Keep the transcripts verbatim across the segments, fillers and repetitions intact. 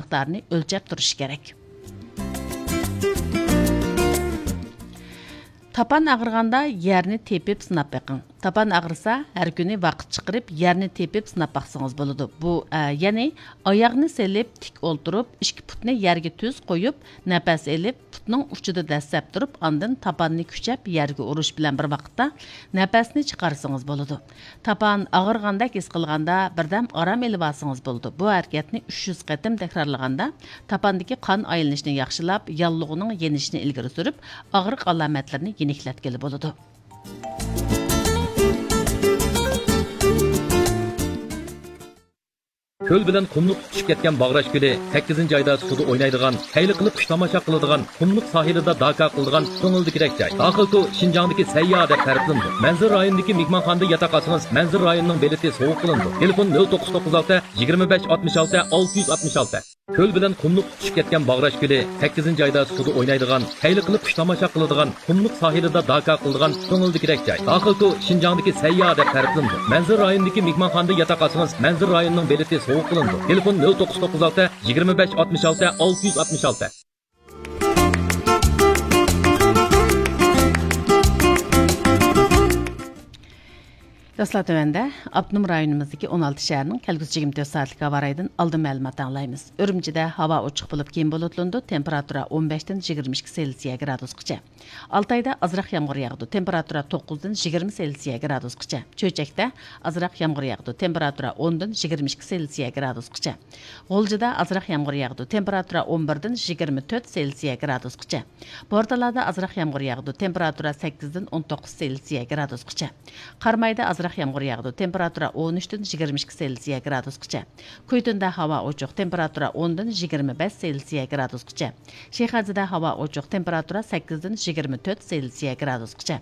مىقدارىنى ئۆلچەپ تۇرۇش كېرەك. تاپان ئاغرىغاندا يەرنى تېپىپ سىناپ بېقىڭ. تاپان ئاغرىسا، ھەر كۈنى ۋاقىت چىقىرىپ يەرنى تېپىپ سىناپ باقسىڭىز بولىدۇ. بۇ، ئە، يەنى ئاياغنى سېلىپ تىك ئولتۇرۇپ، ئىككى پۇتنى يەرگە تۈز قويۇپ، نەپەس ئېلىپ، پۇتنىڭ ئۇچىدا دەسسەپ تۇرۇپ، ئاندىن تاپاننى كۈچەپ يەرگە ئۇرۇش بىلەن بىر ۋاقىتتا نەپەسنى چىقارسىڭىز بولىدۇ. تاپان ئاغرىغاندەك ھېس قىلغاندا بىردەم ئارام ئېلىۋالسىڭىز بولىدۇ. بۇ ھەرىكەتنى ئۈچ يۈز قېتىم تەكرارلىغاندا، تاپاندىكى قان ئايلىنىشنى ياخشىلاپ، ياللۇغىنىڭ يېنىشىنى ئىلگىرى سۈرۈپ، ئاغرىق ئالامەتلىرىنى يېنىكلەتكىلى بولىدۇ. كۆل بىلەن قۇملۇق تۇتىشىپ كەتكەن باغراش كۆلى، سەككىزىنچى ئايدا سۇدا ئوينايدىغان، خەيلى قىلىپ قۇش تاماشا قىلىدىغان، قۇملۇق ساھىلىدا داكا قىلىدىغان كۆڭۈلدىكىدەك جاي. داخىل تور شىنجاڭدىكى سەيياھ دەپ تەرىپلىنىدۇ. مەنزىرە رايونىدىكى مېھمانخانىدا ياتاق ئالسىڭىز، مەنزىرە رايونىنىڭ بېلىتى سوۋغا قىلىنىدۇ. تېلېفون: نۆل توققۇز توققۇز ئالتە، يىگىرمە بەش ئاتمىش ئالتە، ئالتە يۈز ئاتمىش ئالتە. كۆل بىلەن قۇملۇق تۇتىشىپ كەتكەن باغراش كۆلى، سەككىزىنچى ئايدا سۇدا ئوينايدىغان، خەيلى قىلىپ قۇش تاماشا قىلىدىغان، قۇملۇق ساھىلىدا داكا قىلىدىغان كۆڭۈلدىكىدەك جاي. داخىل تور شىنجاڭدىكى سەيياھ دەپ تەرىپلىنىدۇ. مەنزىرە رايونىدىكى مېھمانخانىدا ياتاق ئالسىڭىز، مەنزىرە رايونىنىڭ بېلىتى سوۋغا قىلىنىدۇ. تېلېفون: نۆل توققۇز توققۇز ئالتە، يىگىرمە بەش ئاتمىش ئالتە، ئالتە يۈز ئاتمىش ئالتە. دوستلار، تۆۋەندە ئاپتونوم رايونىمىزدىكى ئون ئالتە شەھەرنىڭ كەلگۈسى يىگىرمە تۆت سائەتلىك ھاۋا رايىدىن ئالدىن مەلۇمات ئاڭلايمىز. ئۈرۈمچىدە ھاۋا ئوچۇق بولۇپ، كېيىن بۇلۇتلىنىدۇ، تېمپېراتۇرا ئون بەشتىن يىگىرمە ئىككى سېلسىيە گرادۇسقىچە. ئالتايدا ئازراق يامغۇر ياغىدۇ، تېمپېراتۇرا توققۇزدىن يىگىرمە سېلسىيە گرادۇسقىچە. چۆچەكتە ئازراق يامغۇر ياغىدۇ، تېمپېراتۇرا ئوندىن يىگىرمە ئىككى سېلسىيە گرادۇسقىچە. غۇلجىدا ئازراق يامغۇر ياغىدۇ، تېمپېراتۇرا ئون بىردىن يىگىرمە تۆت سېلسىيە گرادۇسقىچە. بورتالادا ئازراق يامغۇر ياغىدۇ، تېمپېراتۇرا سەككىزدىن ئون توققۇز سېلسىيە گرادۇسقىچە. قارامايدا ئازراق يامغۇر ياغىدۇ، تېمپېراتۇرا ئون ئۈچتىن يىگىرمە ئىككى سېلسىيە گرادۇسقىچە. كۈيتۇندا ھاۋا ئوچۇق، تېمپېراتۇرا ئوندىن يىگىرمە بەش سېلسىيە گرادۇسقىچە. شىخەنزىدە ھاۋا ئوچۇق، تېمپېراتۇرا سەككىزدىن يىگىرمە تۆت سېلسىيە گرادۇسقىچە.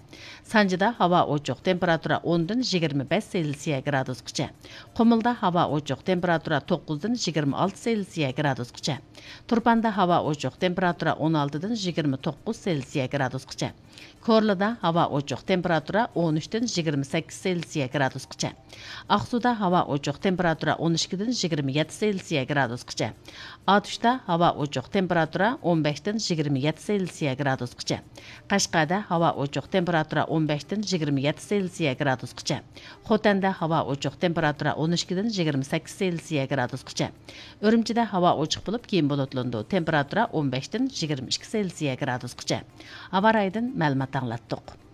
سانجىدا ھاۋا ئوچۇق، تېمپېراتۇرا ئوندىن يىگىرمە بەش سېلسىيە گرادۇسقىچە. قۇمۇلدا ھاۋا ئوچۇق، تېمپېراتۇرا توققۇزدىن يىگىرمە ئالتە سېلسىيە گرادۇسقىچە. تۇرپاندا ھاۋا ئوچۇق، تېمپېراتۇرا ئون ئالتىدىن يىگىرمە توققۇز سېلسىيە گرادۇسقىچە. كورلىدا ھاۋا ئوچۇق، تېمپېراتۇرا ئون ئۈچتىن يىگىرمە سەككىز سېلسىيە گرادۇسقىچە. ئاقسۇدا ھاۋا ئوچۇق، تېمپېراتۇرا ئون ئىككىدىن يىگىرمە يەتتە سېلسىيە گرادۇسقىچە. ئاتۇشتا ھاۋا ئوچۇق، تېمپېراتۇرا ئون بەشتىن يىگىرمە يەتتە سېلسىيە گرادۇسقىچە. قەشقەردە ھاۋا ئوچۇق، تېمپېراتۇرا ئون بەشتىن يىگىرمە يەتتە سېلسىيە گرادۇسقىچە. خوتەندە ھاۋا ئوچۇق، تېمپېراتۇرا ئون ئىككىدىن يىگىرمە سەككىز سېلسىيە گرادۇسقىچە. ئۈرۈمچىدە ھاۋا ئوچۇق بولۇپ، كېيىن بۇلۇتلىنىدۇ، تېمپېراتۇرا ئون بەشتىن يىگىرمە ئىككى سېلسىيە گرادۇسقىچە. ھاۋا رايىدىن مەلۇمات ئاڭلاتتۇق.